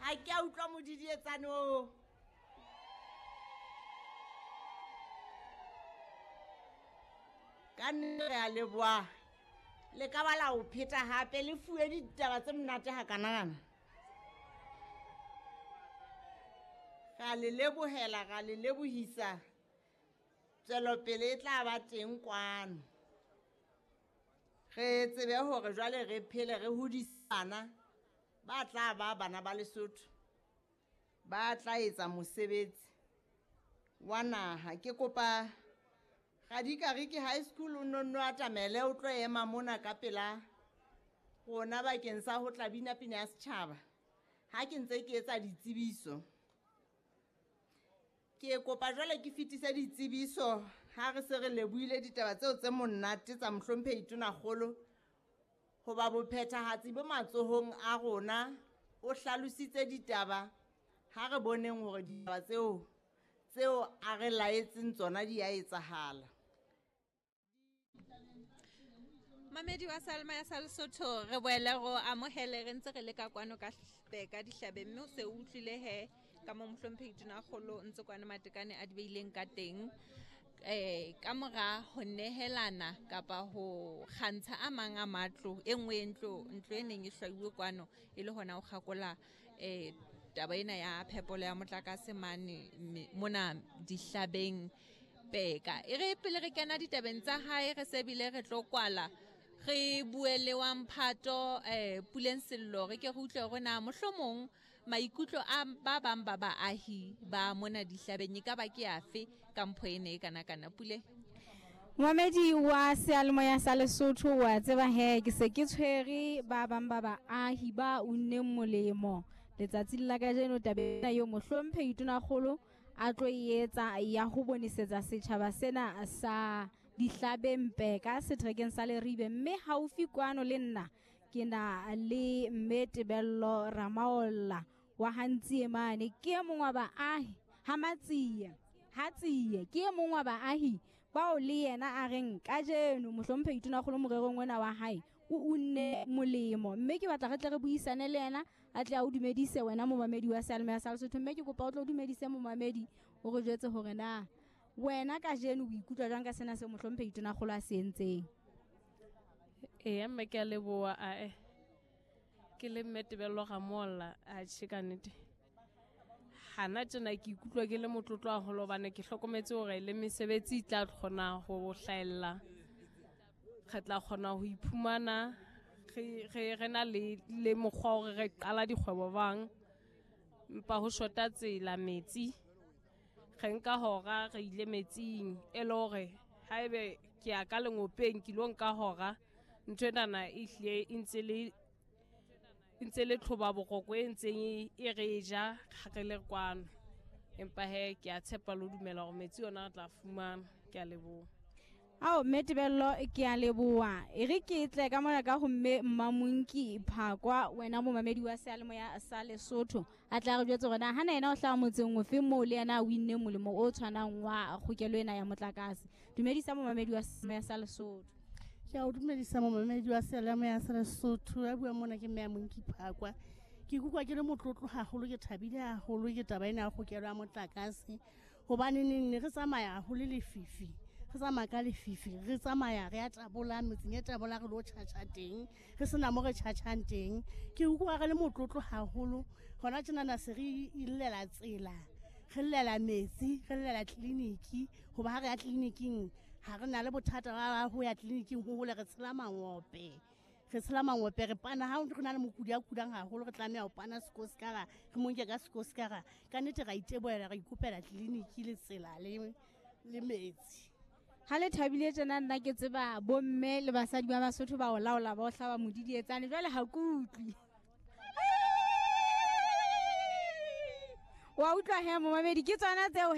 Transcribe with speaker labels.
Speaker 1: Ha ke a utlwa modidietsane oo. Ka nnete re a leboha. Le ka ba la o pheta hape le fuwe ditaba tse monate hakanakana. Ra le lebohela, ra le lebohisa. Tswelopele e tla ba teng kwano. Re tsebe hore jwale re phele re hodise bana ba tla ba bana ba Lesotho, ba tla etsa mosebetsi wa naha. Ke kopa Radikariki High School o nonno atamele o tlo ema mona ka pela rona bakeng sa ho tla bina pina ya setjhaba ha ke ntse ke etsa ditsebiso. Ke kopa jwale ke fetise ditsebiso ha re se re lebohile ditaba tseo tse monate tsa mohlomphehi Tonakgolo, hoba bophethahatsi bo matsohong a rona. O hlalositse ditaba, ha re boneng hore ditaba tseo a re laetseng tsona di a etsahala.
Speaker 2: Mamedi wa Salma ya sa Lesotho, re boele ro amohele re ntse re le ka kwano ka Peka dihlabeng, mme o se o utlwile he ka mo mohlomphehi Tonakgolo ntse kwana Matekane a di beileng ka teng. Ka mora ho nehelana kapa ho kgantsha a mang a matlo, e nngwe ntlo e neng e hlwauwe kwano e le hona ho kgakola taba ena ya phepolo ya motlakase mane mona dihlabeng Peka. E re pele re kena ditabeng tsa hae, re se bile re tlo kwala, re bue le wa Mphato Puleng Sello, re ke re utlwe hore na mohlomong maikutlo a ba bang ba baahi ba mona dihlabeng e ka ba ke afe ka mpho ena e kana kana. Pule.
Speaker 3: Momedi wa seyalemoya sa Lesotho, wa tseba he ke se ke tshwere ba bang ba baahi ba unneng molemo letsatsing la kajeno tabeng ena eo mohlomphehi Tonakgolo a tlo e etsa ya ho bonisetsa setjhaba sena sa dihlabeng Peka seterekeng sa Leribe. Mme haufi kwano le nna ke na le mme Tebello Ramaolla wa Hantsie mane, ke e mong wa baahi ha Matsie Hatsie, ke e mong wa baahi bao le yena a reng kajeno mohlomphehi Tonakgolo morerong ona wa hae o unne molemo. Mme ke batla re tle re buisane le yena, a tle a o dumedise wena momamedi wa Seyalemoya sa Lesotho. Mme ke kopa o tlo dumedise momamedi, o re jwetse hore na wena kajeno o ikutlwa jwang ka sena seo mohlomphehi Tonakgolo a se entseng.
Speaker 4: Eya mme ke a leboha. Ae ke le mme Tebello Ramolla, atjhe ka nnete hana tjena ke ikutlwa ke le motlotlo haholo, hobane ke hlokometse hore le mesebetsi e tla kgona ho hlahella, re tla kgona ho iphumana re na le mokgwa hore re qala dikgwebo bang, empa ho shota tsela, metsi. Re nka hora re ile metsing, e le hore haebe ke ya ka lengopeng ke lo nka hora. Ntho enana e hlile e ntse le tlhoba boroko e ntseng e re ja ha re le kwano. Empa he ke a tshepa le ho dumela hore metsi ona re tla fumana. Ke a leboha.
Speaker 3: Ao mme Tebello ke a leboha. E re ke tle ka mona ka ho mme Mmamonki Phakwa, wena momamedi wa seyalemoya sa Lesotho, a tla re jwetse hore na hana yena o hlaha motseng ofe moo le yena a winneng molemo o tshwanang wa kgokelo ena ya motlakase. Dumedisa momamedi wa seyalemoya sa Lesotho.
Speaker 5: Ke a o dumedisa momamedi wa seyalemoya sa Lesotho. Ya bua mona ke mme Monki Phakwa. Ke ikutlwa ke le motlotlo haholo, ke thabile haholo ke taba ena ya kgokelo ya motlakase, hobane neng ne re tsamaya haholo lefifi, re tsamaya ka lefifi, re tsamaya re ya tabola metseng e tabola, re lo tjhatjha teng, re sena mo re tjhatjhang teng. Ke utlwa re le motlotlo haholo hona tjenana se re illela tsela, re llela metsi, re llela tleliniki, hoba ha re ya tleliniking ha re na le bothata ba ho ya tleliniking ho hole, re tshela mangope, re tshela mangope, re pana ha re na le mokudi a kulang haholo, re tlameha ho pana sekosikara, re mo nke ka sekosikara. Ka nnete ra itebohela, ra ikopela tleliniki le tsela le metsi.
Speaker 3: Ha le thabile tjena, nna ke tseba bomme le basadi ba Basotho ba o laola, ba o hlaba modidietsane, jwale ha ke utlwe. Wa utlwa he momamedi, ke tsona tseo